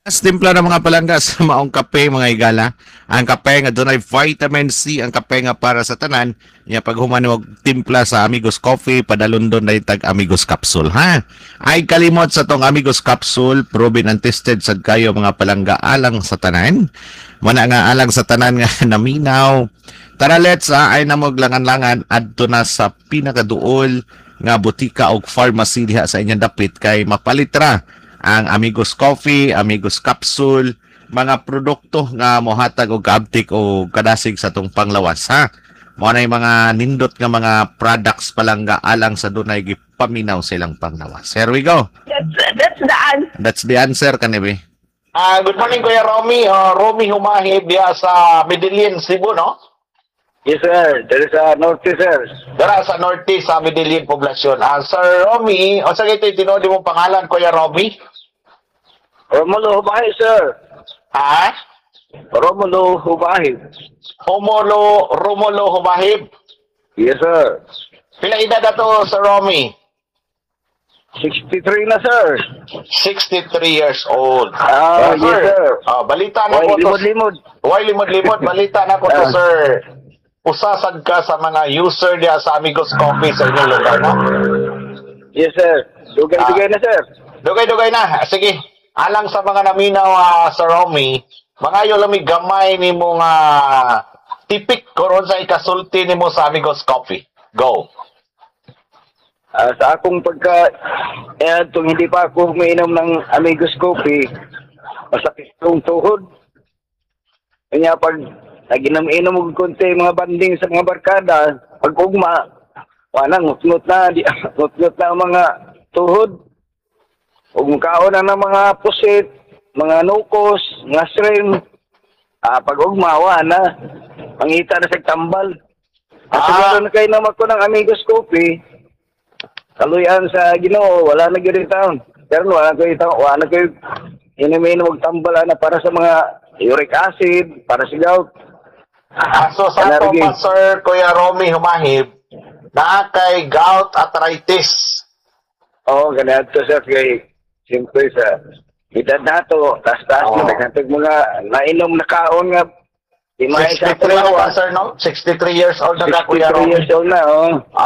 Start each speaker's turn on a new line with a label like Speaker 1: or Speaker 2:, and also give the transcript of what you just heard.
Speaker 1: Timpla na, mga palangga, sa maong kape, mga higala. Ang kape nga dunay vitamin C, ang kape nga para sa tanan. Nya pag human og timpla sa Amigos Coffee, padalon doon na tag Amigos Capsule, ha. Ay kalimot sa tong Amigos Capsule, proven and tested sad kayo, mga palangga, alang sa tanan. Mana nga alang sa tanan nga naminaw. Tara, let's ha, ay namog langan-langan adto na sa pinakaduol nga botika og pharmacy diha sa inyong dapit kay mapalitra ang Amigos Coffee, Amigos Capsule, mga produkto nga mohatag og kaabtik o kadasig sa atong panglawas, ha. Mao na yung mga nindot nga mga products, palangga, alang sa dunay gipaminaw sa ilang panglawas. Here we go.
Speaker 2: That's the answer.
Speaker 1: That's the answer kanibi.
Speaker 3: Ah, good morning, Kuya Romy. Romy Humahib diha sa Medellin, Cebu, no?
Speaker 4: Yes, sir. There is a Norte, sir.
Speaker 3: Dara sa Norte sa Medellin poblasyon. Sir Romy, unsa kay tinuod imong pangalan, Kuya Romy?
Speaker 4: Romulo Hubahib, sir.
Speaker 3: Ha?
Speaker 4: Romulo Hubahib.
Speaker 3: Romulo Romulo Humahib.
Speaker 4: Yes, sir.
Speaker 3: Pila edad ato, Sir Romy?
Speaker 4: 63 na, sir.
Speaker 3: 63 years old.
Speaker 4: Ah, yes, sir.
Speaker 3: Balita na
Speaker 4: Why,
Speaker 3: ko to.
Speaker 4: limod-limod.
Speaker 3: Why limod-limod? Balita na ko to, sir. Usa sad ka sa mga user diha sa Amigos Coffee sa inyong lugar, no?
Speaker 4: Yes, sir. Dugay-dugay na, sir.
Speaker 3: Dugay-dugay na. Sige. Alang sa mga naminaw, Sir Romy, mga lami gamay nimo nga tipik karon sa ikasulti nimo sa Amigos Coffee. Go.
Speaker 4: Sa akong pagka, eh, itong hindi pa ako umiinom ng Amigos Coffee, masakit kong tuhod. Kanya pag naginom-inom og konti mga banding sa mga barkada, pag ugma, wala, ngut-ngut na, di, ngut-ngut na ang mga tuhod. Ug mukaon na ng mga pusit, mga nukos, mga shrimp. Pag ugma, wala na. Pangita na sa tambal. At siguro na kayo naman ko ng Amigos Coffee, kaluyan sa Ginoo, wala na gyud taon. Pero wala ko itaw, wala na kayo inom-inom og tambal na para sa mga uric acid, para sa gout.
Speaker 3: So sa ato
Speaker 4: Allergy.
Speaker 3: pa, Sir Kuya Romy Humahib, naa kay gout arthritis.
Speaker 4: Oo, ganito, sir, kay siyempre sa edad nato, taas-taas na daghan mga nainom na kaon nga di maayo sa
Speaker 3: 63 na ka,
Speaker 4: lawas.
Speaker 3: sir, no? 63 years old na ka, Kuya
Speaker 4: 63
Speaker 3: Romy.
Speaker 4: years old na, oh.